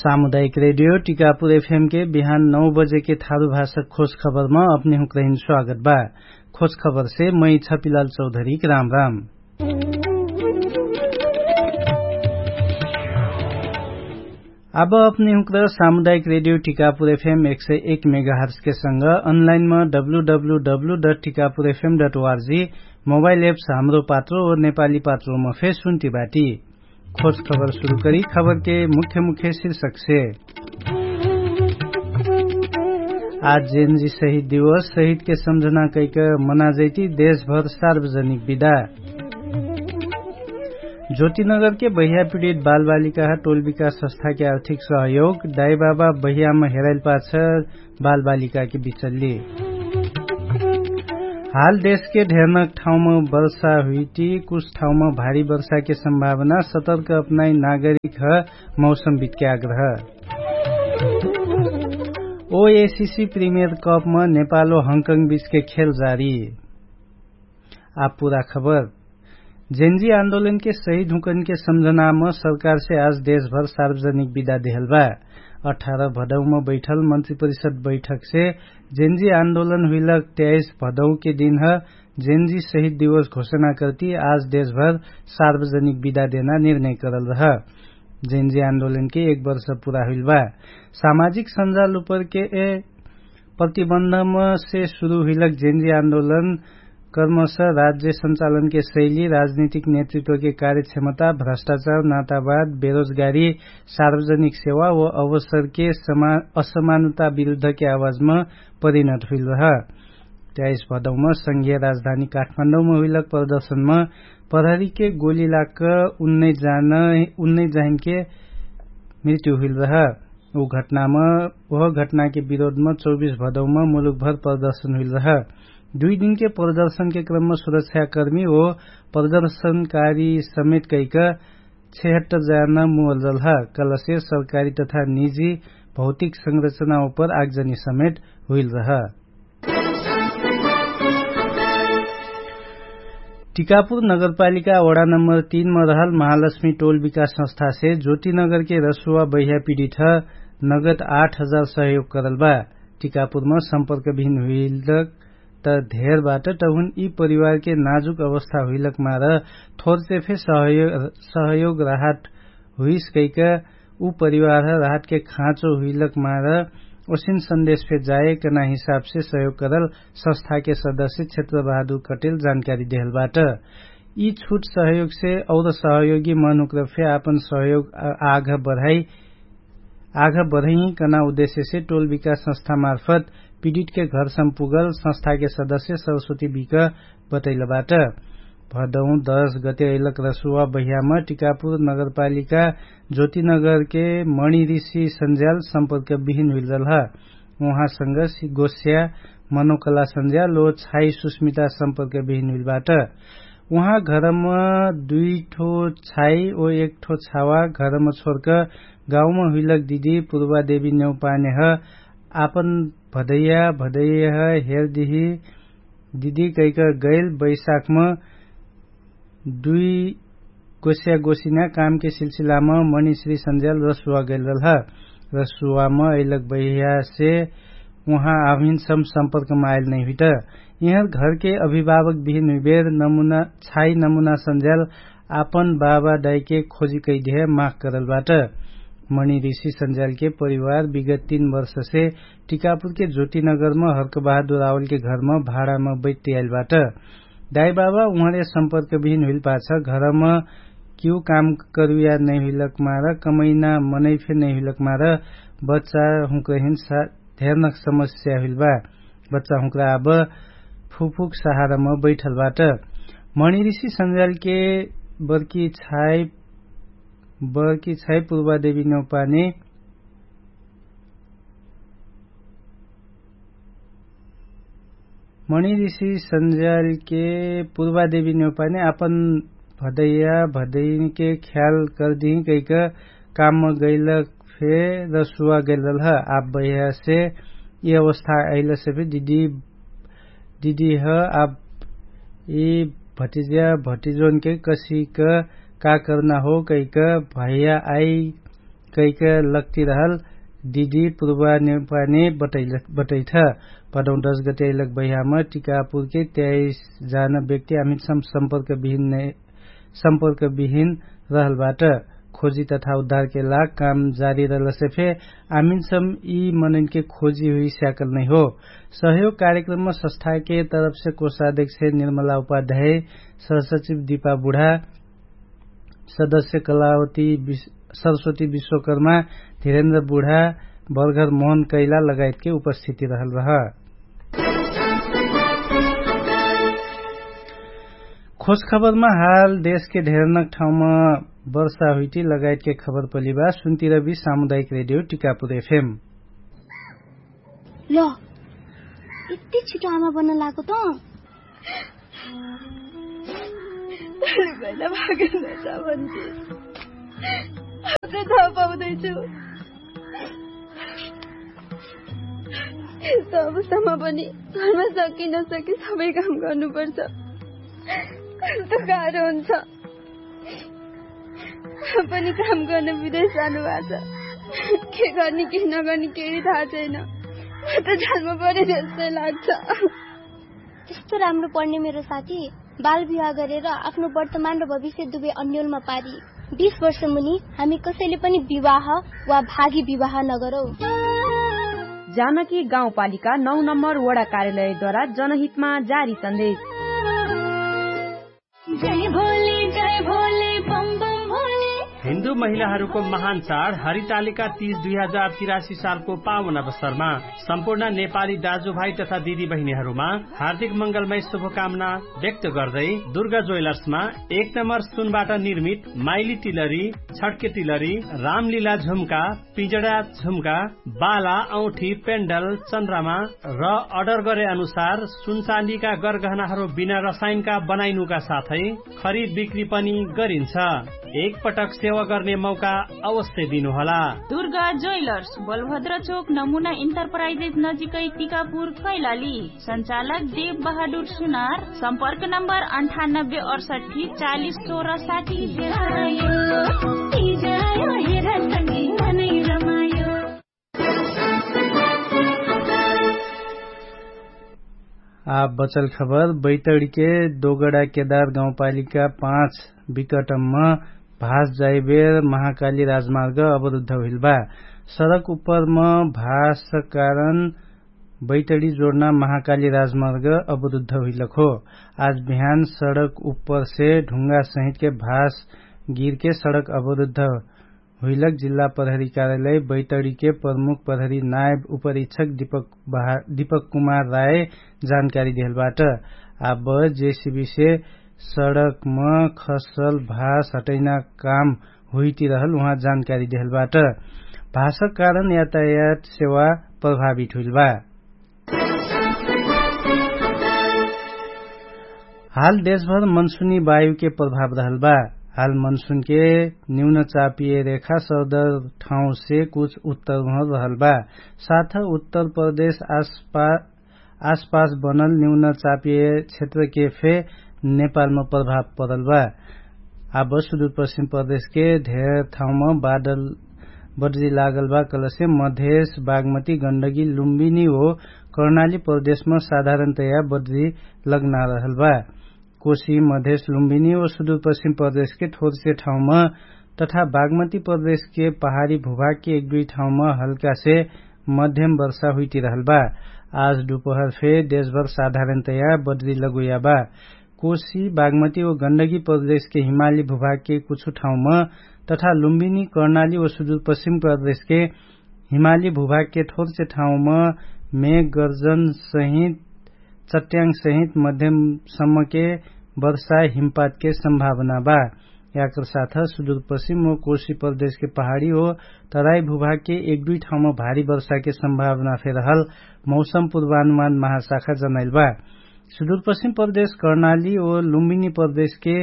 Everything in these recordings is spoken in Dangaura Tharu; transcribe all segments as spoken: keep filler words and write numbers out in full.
सामुदायिक रेडियो टिकापुर एफएम के बिहान नौ बजे के थारु भाषा खोज खबरमा अपने हुँकरहिन स्वागत बा। खोज खबर से मै छपिलाल चौधरी के राम राम। अब अपने हुँकर सामुदायिक रेडियो टिकापुर एफएम एक सय एक मेगाहर्स के संग अनलाइनमा W W W dot Tikapur F M dot O R G mobile apps Hamro Patro नेपाली पात्रोमा फे सुन्ति बाटी। खोज खबर सुरु करी खबर के मुख्य मुख्य शीर्षक से। आज जेनजी शहीद दिवस शहीद के सम्झना कैक मनाजैती देशभर सार्वजनिक विदा। ज्योतिनगर के बहिया पिडित बालबालिका टोल विकास संस्था के आर्थिक सहयोग दाइबाबा बहियामा हेराइल पाछ बालबालिका के बिचल्ली। हाल देश के ढेरनक ठाउँमा वर्षा हुइटी कुछ ठाउँमा भारी वर्षा के सम्भावना सतर्क अपनाई नागरिक ह। मौसम बितके आग्रह। ओएसिसी प्रिमियर कपमा नेपाल ओ हङकङ बिचके खेल जारी। आब पुरा खबर। जेनजी आन्दोलनके शहीद हुँकनके सम्झनाम सरकारसे आज देशभर सार्वजनिक विदा देहलबा। अठार भदौम बैठल मन्त्री परिषद बैठकसे जेनजी आन्दोलन हुइलक त्याइस भदौके दिनह जेनजी शहीद दिवस घोषणा करती आज देशभर सार्वजनिक विदा देना निर्णय करल रह। जेनजी आन्दोलनके एक वर्ष पुरा हुइलबा। सामाजिक सञ्जाल उपरके प्रतिबन्धमसे सुरु हुइलक जेनजी आन्दोलन कर्मश राज्य सञ्चालनके शैली राजनीतिक नेतृत्वके कार्यक्षमता भ्रष्टाचार नातावाद बेरोजगारी सार्वजनिक सेवा व अवसरके असमानता विरुद्धके आवाजमा परिणत हुइल रह। त्याइस भदौमा संघीय राजधानी काठमाडौमा हुइलक प्रदर्शनमा प्रहरीके गोली लाक उन्नै जाहिनके मृत्यु हुइल रह। उ घटनामा उह घटनाके विरोधमा चौबिस भदौमा मुलुकभर प्रदर्शन हुइल रह। दुइ दिनके प्रदर्शनके क्रममा सुरक्षाकर्मी ओ प्रदर्शनकारी समेत कैक छेहत्तर जान मुअल रह। कलसे सरकारी तथा निजी भौतिक संरचना उपर आगजनी समेत हुइल रह। टिकापुर नगरपालिका वडा नम्बर तीन मा रहल महालक्ष्मी टोल विकास संस्थासे ज्योतिनगरके रसुवा बहिया पिडिठ नगद आठ हजार सहयोग करल बा। टिकापुरमा सम्पर्क भिन हुइलक त धेर बाट तहुन यि परिवारके नाजुक अवस्था हुइलक मार थोरसे फे सहयोग राहत हुइस कैक उ परिवार राहतके खाँचो हुइलक मार ओसिन सन्देश फे जाए कना हिसाबसे सहयोग करल संस्थाके सदस्य क्षेत्र बहादुर कटेल जानकारी देहल बाट। यि छुट सहयोगसे और सहयोगी मनुक्र फे आपन सहयोग आघ बढाई आघ बढाई कना उद्देश्यसे टोल विकास संस्था मार्फत पिडितके घरसम पुगल संस्थाके सदस्य सरस्वती बिक बतैल बाट। भदौ दश गते अइलक रसुवा बहियाम टिकापुर नगरपालिका ज्योतिनगरके मणिरिसी सन्ज्याल सम्पर्क बिहिन हुइलरल ह। उहाँसँग गोस्या मनोकला सन्ज्याल ओ छाई सुस्मिता सम्पर्क बिहिन हुइलबाट। उहाँ घरम दुइठो छाई ओ एकठो छावा घरम छोर्क गाउँम हुइलक दिदी पुर्वादेवी नेउपानेह आपन भदैया भदैह हेरदिही दिदी कैक गैल बैशाखम दुइ गोस्या गोसिन्या कामके सिलसिलाम मणिश्री सन्ज्याल रसुवा गैलरल ह। रसुवाम अइलक बैह्यासे उहाँ आभिन सम सम्पर्कम आइल नैहुइट। यिहर घरके अभिभावक बिहिन हुइबेर छाई नमुना सन्ज्याल आपन बाबा दाइके खोजी कैदेह माख करल बाट। मणिरिसी सन्ज्यालके परिवार विगत तीन वर्षसे टिकापुरके ज्योतिनगरम हर्कबहादुर आवलके घरम भाडाम बैठ्याइल बाट। दाइबाबा उहाँले सम्पर्क बिहिन हुइल पाछ घरम किउ काम करुया नैहुइलक मार कमैना मनैफे नैहुइलक मार बच्चा हुँक्रहिन धेरनक समस्या हुइल बा। बच्चा हुँक्रा आब फुफुक सहारम बैठल बाट। मणिरिसी सन्ज्यालके बर्की छाई बर्की छाई पुर्वादेवी नेउपाने मणिरिसी सन्ज्यालके पुर्वादेवी नेउपाने आपन भदैया भदैनके ख्याल करदिही कैक कामम गैलक फे रसुवा गैलरल ह। आब बैह्यासे यि अवस्था अइलसे फे दिदी ह आब यि भटिज्या भटिजोनके कसिक का कर्ना हो कैक भैया आइ कैक लक्ति रहल दिदी पुर्वा नेपाने बटैठ। पदौं दश गते अइलक बहियाम टिकापुरके त्याइस जान व्यक्ति आमिनसम सम्पर्क विहिन रहलबाट। खोजी तथा उद्धारके लाग काम जारी रहलसे फे आमिनसम यि मनैनके खोजी हुइ स्याकल नैहो। सहयोग कार्यक्रममा सस्थाके तरफसे कोषाध्यक्ष निर्मला उपाध्याय, सहसचिव दिपा बुढा, सदस्य कलावती सरस्वती विश्वकर्मा, धिरेन्द्र बुढा, बर्घर मोहन कैला लगायतके उपस्थिति रहल रह। खोजखबरमा हाल देशके ढेरनक ठाउँमा वर्षा हुइटी लगायतके खबर पलिबा सुन्तिरबी सामुदायिक रेडियो टिकापुर एफएम। ल, यति छिटो आमा बन्न लागो त? भैला भागेन छ भन्थे। अब त थाहा पाउँदैछु। तबसम्म पनि घरमा सकी नसकी सबै काम गर्नुपर्छ। कस्तो गाह्रो हुन्छ। पनि काम गर्न विदेश जानुभएको छ। के गर्ने के नगर्ने केही थाहा छैन। म त जन्म परे जस्तै लाग्छ। त्यस्तो राम्रो पढ्ने मेरो साथी बाल विवाह गरेर आफ्नो वर्तमान र भविष्य दुवै अन्यलमा पारी। बिस वर्ष मुनि हामी कसैले पनि विवाह वा भागी विवाह नगरौ। जानकी गाउँपालिका नौ नम्बर वडा कार्यालयद्वारा जनहितमा जारी सन्देश। हिन्दू महिलाहरूको महान चाड हरितालिका तीज दुई हजार तिरासी सालको पावन अवसरमा सम्पूर्ण नेपाली दाजुभाइ तथा दिदीबहिनीहरूमा हार्दिक मङ्गलमय शुभकामना व्यक्त गर्दै दुर्गा ज्वेलर्समा एक नम्बर सुनबाट निर्मित माइली तिलरी, छड्के तिलरी, रामलीला झुम्का, पिजडा झुम्का, बाला औठी पेन्डल चन्द्रमा र अर्डर गरे अनुसार सुनचाँदीका गरगहनाहरू बिना रसायनका बनाइनुका साथै खरिद बिक्री पनि गरिन्छ। एक पटक सेवा गर्ने मौका अवश्य दिनुहोला। दुर्गा ज्वेलर्स, बलभद्र चोक, नमुना इन्टरप्राइजेस नजिकै, टिकापुर, कैलाली। सञ्चालक देव बहादुर सुनार। सम्पर्क नम्बर अन्ठानब्बे अडसट्ठी चालिस सोह्र साठी। आ बचल खबर बैतडीके दोगडा केदार गाउँपालिका पाँच विकटम्म भास जाइबेर महाकाली राजमार्ग अवरुद्ध हुइल बा। सडक उपरम भास कारण बैतडी जोडना महाकाली राजमार्ग अवरुद्ध हुइलक हो। आज बिहान सडक उपरसे ढुङ्गा सहितके भास गिरके सडक अवरुद्ध हुइलक जिल्ला प्रहरी कार्यालय बैतडीके प्रमुख प्रहरी नायब उपरीक्षक दीपक कुमार राय जानकारी देहलबाट। आब जेसिबीसे सडकम खसल भास हटैना काम हुइतिरहल उहाँ जानकारी देहलबाट। भासक कारण यातायात सेवा प्रभावित हुइलबा। हाल देशभर मनसुनी वायुके प्रभाव रहलबा। हाल मनसुनके निम्न चापिय रेखा सर्दर ठाउँसे कुछ उत्तर महर रहलबा। साथ उत्तर प्रदेश आसपास बनल निम्न चापिय क्षेत्रके फे नेपालम प्रभाव परलबा। आब सुदुरपश्चिम प्रदेशके धेर ठाउँम बादल बद्री लागलबा कलसे मधेश बागमती गण्डगी लुम्बिनी हो कर्णाली प्रदेशम साधारणतया बद्री लग्ना रहलबा। कोशी मधेश लुम्बिनी हो सुदुरपश्चिम प्रदेशके थोरसे ठाउँम तथा बागमती प्रदेशके पहाडी भुभागके एक दुई ठाउँम हल्कासे मध्यम वर्षा हुइतिरहलबा। आज दुपहर फे देशभर साधारणतया बद्री लगुयाबा। कोशी बागमती हो गण्डगी प्रदेशके हिमाली भुभागके कुछु ठाउँम तथा लुम्बिनी कर्णाली हो सुदुरपश्चिम प्रदेशके हिमाली भुभागके थोरसे ठाउँम मेघ गर्जन सहित चट्याङ सहित मध्यम सम्मके वर्षा हिमपातके सम्भावना बा। याकर साथ सुदुरपश्चिम हो कोशी प्रदेशके पहाडी हो तराई भुभागके एक दुई ठाउँम भारी वर्षाके सम्भावना फेरहल मौसम पुर्वानुमान महाशाखा जनाइल बा। सुदुरपश्चिम प्रदेश कर्णाली हो लुम्बिनी प्रदेशके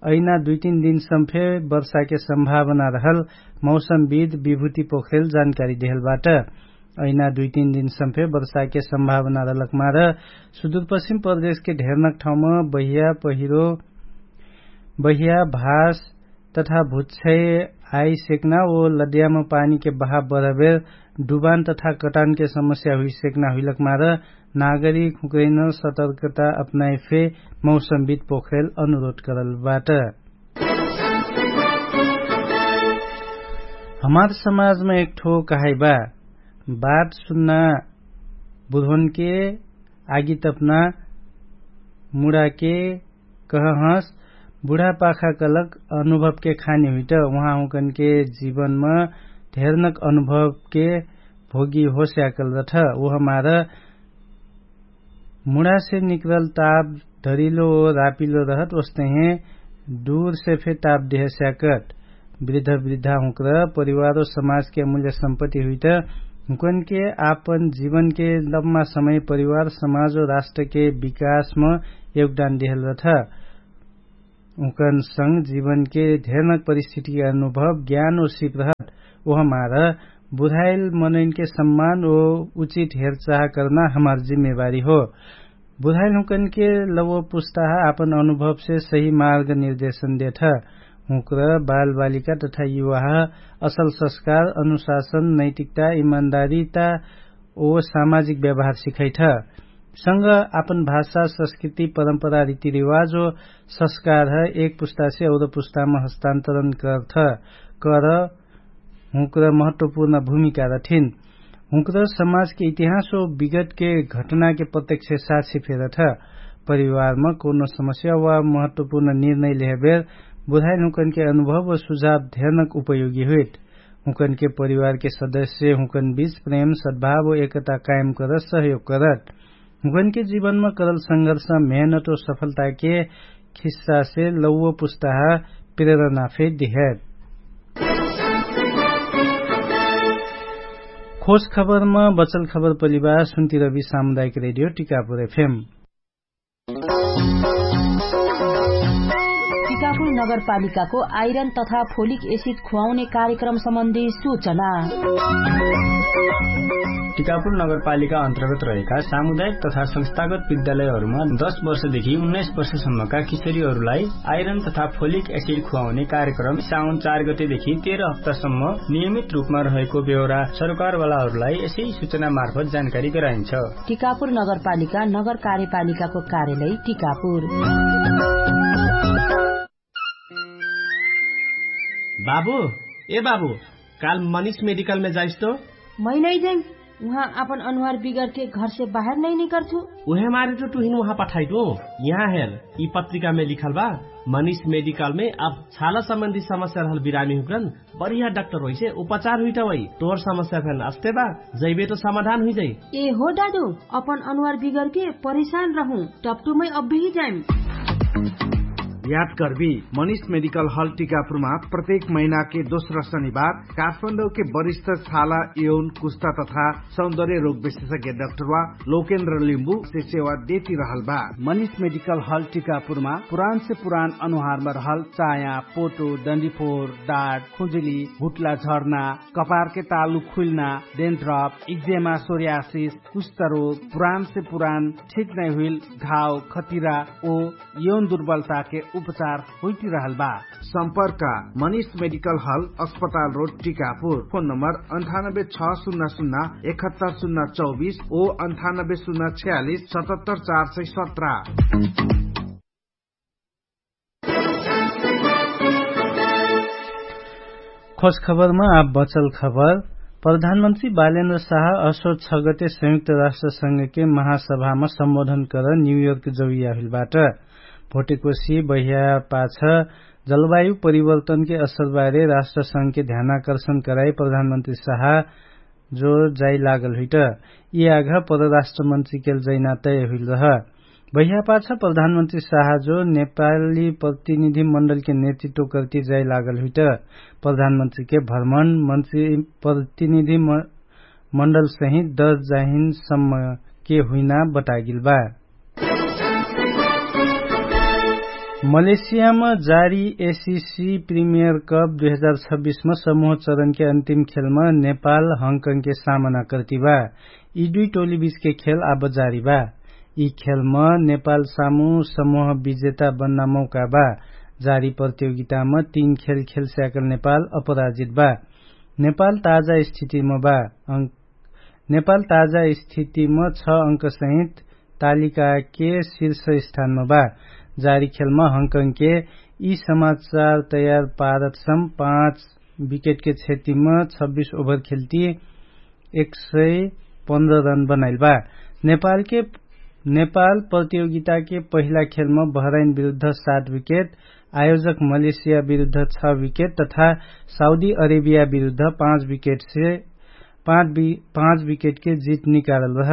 ऐना दुई तीन दिन सम्फे वर्षाके सम्भावना रहल मौसमविद विभूति पोखरेल जानकारी देहलबाट। ऐना दुई तीन दिन सम्फे वर्षाके सम्भावना रहलक मार सुदुरपश्चिम प्रदेशके ढेरनक ठाउँम बहिया पहिरो बहिया भास तथा भुच्छै आइ सेक्ना ओ लद्याम पानीके बहा बरहबेर डुबान तथा कटानके समस्या हुइ सेक्ना हुइलक मार नागरिक हुँकरैन सतर्कता अपनाइ फे मौसमविद पोखरेल अनुरोध करल बाट। हमार समाजमा एकठो कहाइ बा, बात सुन्ना बुधवनके आगी तपना मुडाके कहहँस। बुढापाखा कलक अनुभवके खानी हुइट उहाँ हुँकनके जीवनम धेरनक अनुभवके भोगी होस्याकल रठ। उहमार मुढासे निकरल ताप धरिलो रापिलो रहत ओस्तहे दुरसे फे ताप देहस्याकट। वृद्ध वृद्धा हुँकर परिवारो समाजके अमुल्य सम्पत्ति हुइट हुँकनके आपन जीवनके लम्मा समय परिवार समाजो राष्ट्रके विकासम योगदान देहल रठ। उकन संग जीवनके धेरनक परिस्थितिके अनुभव ज्ञान ओ सिप रहत। ओहमार बुधाइल मनैनके सम्मान ओ उचित हेरचाह करना हमार जिम्मेवारी हो। बुधाइल हुँकनके लवो पुस्ताह आपन अनुभवसे सही मार्ग निर्देशन देठ। हुँकर बालबालिका तथा युवाह असल सस्कार अनुशासन नैतिकता इमान्दारीता ओ सामाजिक व्यवहार सिखैठ। संग आपन भाषा संस्कृति परम्परा रीतिरिवाज ओ सस्कार ह एक पुस्तासे और पुस्ताम हस्तान्तरण करठ। कर हुँकर महत्वपूर्ण भूमिका रठिन। हुँकर समाजके इतिहास ओ विगतके घटनाके प्रत्यक्ष साक्षी फेरठ। परिवारम कौनो समस्या वा महत्वपूर्ण निर्णय लेहबेर बुधाइल हुँकनके अनुभव ओ सुझाव धेरनक उपयोगी हुइट। हुँकनके परिवारके सदस्य हुँकन बीच प्रेम सद्भाव ओ एकता कायम करत सहयोग करत। हुँकनके जीवनमा करल संघर्ष मेहनत ओ सफलताके खिस्सासे लौवो पुस्ताह प्रेरणा फे दिहेट। खोज खबरमा बचल खबर पलिबार सुन्तिरबी सामुदायिक रेडियो टिकापुर एफएम। टिकापुर नगरपालिकाको आइरन तथा फोलिक एसिड खुवाउने कार्यक्रम सम्बन्धी सूचना। टिकापुर नगरपालिका अन्तर्गत रहेका सामुदायिक तथा संस्थागत विद्यालयहरूमा दश वर्षदेखि उन्नाइस वर्षसम्मका किशोरीहरूलाई आइरन तथा फोलिक एसिड खुवाउने कार्यक्रम साउन चार गतेदेखि तेह्र हप्तासम्म नियमित रूपमा रहेको बेहोरा सरकारवालाहरूलाई यसै सूचना मार्फत जानकारी गराइन्छ। टिकापुर नगरपालिका नगर कार्यपालिकाको कार्यालय टिकापुर। बाबु, ए बाबु, काल मनिष मेडिकलमे जाइस्तो? मै नै जाइम। उहाँ आपन अनुहार बिगरके घरसे बाहेर नै निकर्छु। उहे मारे त तुहिन उहाँ पठाइटो। यहाँ हेर, यि पत्रिकामे लिखल बा, मनिष मेडिकलमे अब छाला सम्बन्धी समस्या रहल बिरामी हुकरन बढिया डाक्टर होइसे उपचार हुइटवै। तोहर समस्या फेन अस्ते बा, जैबे त समाधान हुइजै। ए हो दादु, अपन अनुहार बिगरके परेशान रहु, टप्टुमै अब्बेही जाइम। याद कर्बी, मनिष मेडिकल हल टिकापुरमा प्रत्येक महिनाके दोस्रा शनिबार काठमाडौके वरिष्ठ छाला यौन कुस्ता तथा सौन्दर्य रोग विशेषज्ञ डाक्टरवा लोकेन्द्र लिम्बु से सेवा देती रहल बा। मनिष मेडिकल हल टिकापुरमा पुरान से पुरान अनुहारमा रहल चाया, पोटो, डन्डीफोर, डाट, खुजुली, हुट्ला झर्ना, कपारके तालु खुइल्ना, डेन्ड्रप, इक्जेमा, सोर्यासिस, कुष्ठरोग, पुरान से पुरान ठीक नै हुइल घाव, खतिरा ओ यौन दुर्बलताके उपचार हुइटिरहल बा। सम्पर्क मनिष मेडिकल हल, अस्पताल रोड, टिकापुर। फोन नम्बर अन्ठानब्बे छ सुन्ना सुन्ना एकहत्तर सुन्ना चौबिस ओ अन्ठानब्बे सुन्ना छ्यालिस सतहत्तर चार सय सत्र। खोज खबरमा आब बचल खबर। प्रधानमन्त्री बालेन्द्र साह असो छ गते संयुक्त राष्ट्र संघके महासभामा सम्बोधन कर न्युयोर्क जौइया हुइलबाट। भोटेकोसी बहिया पाछ जलवायु परिवर्तनके असरबारे राष्ट्र संघके ध्यानाकर्षण कराई प्रधानमन्त्री साह जो जाइ लागल हुइट। यि आघ परराष्ट्र मन्त्रीकेल जैना तय हुइल रह। बहिया पाछ प्रधानमन्त्री साह जो नेपाली प्रतिनिधि मण्डलके नेतृत्व कर्ति जाइ लागल हुइट। प्रधानमन्त्रीके भ्रमण मन्त्री प्रतिनिधि मण्डलसहित दस जाहिन सम्मके हुइना बतागिल बा। मलेसियामा जारी एसिसी प्रिमियर कप दुई हजार छब्बिसमा समूह चरणके अन्तिम खेलमा नेपाल हङकङके सामना कर्ति बा। यि दुई टोली बीचके खेल आब जारी बा। यि खेलमा नेपाल सामु समूह विजेता बन्ना मौका बा। जारी प्रतियोगितामा तीन खेल खेल स्याकल नेपाल अपराजित बा। नेपाल ताजा स्थितिमा बा। नेपाल ताजा स्थितिमा छ अंकसहित तालिकाके शीर्ष स्थानमा बा। जारी खेलमा हङकङके यी समाचार तयार पारतसम पाँच विकेटके क्षतिमा छब्बिस ओभर खेल्ती एक सय पन्ध्र रन बनाइल बा। नेपालके नेपाल प्रतियोगिताके पहिला खेलमा बहराइन विरुद्ध सात विकेट, आयोजक मलेसिया विरुद्ध छ विकेट तथा साउदी अरेबिया विरुद्ध पाँच विकेटके जित निकालल रह।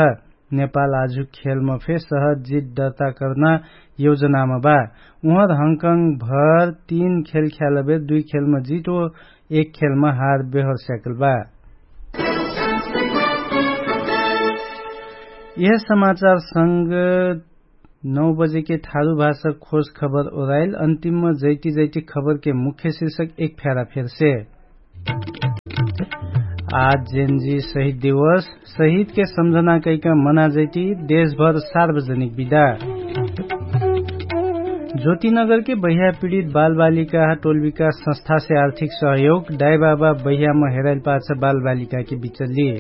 नेपाल आजु खेलमा फे सहज जित दर्ता कर्ना योजनामा बा। उहर हङकङ भर तीन खेल ख्यालबेर दुइ खेलमा जित ओ एक खेलमा हार बेहर स्याकल बा। यह समाचार संग नौ बजेके थारु भाषा खोज खबर ओराइल। अन्तिममा जैती जैती खबरके मुख्य शीर्षक एक फ्यारा फेरसे। आज जेनजी शहीद दिवस। शहीदके सम्झना कैका मना जैती देशभर सार्वजनिक विदा। ज्योतिनगरके बह्या पीडित बालबालिका टोलविका संस्थासे आर्थिक सहयोग। दाइबाबा बह्यामा हेराइल पाछ बालबालिकाके बिचल्ली।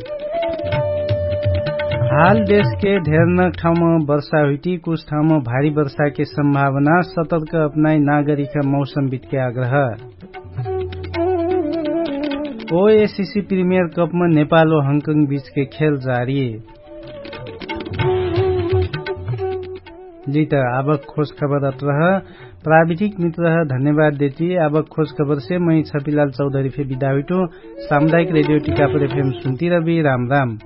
हाल देशके धेरनक ठाउँमा वर्षा हुइटी कुछ ठाउँमा भारी वर्षाके सम्भावना। सतर्क अपनाइ नागरिका मौसमविदके आग्रह। ओएसिसी प्रिमियर कपमा नेपाल ओ हङकङ बिचके खेल जारी। लित आबक खोज खबर अत्रह। प्राविधिक मित्रह धन्यवाद देती। आबक खोज खबरसे मै छपिलाल चौधरी फे बिदा हुइटु। सामुदायिक रेडियो टिकापुर एफएम सुन्ती रबी राम राम।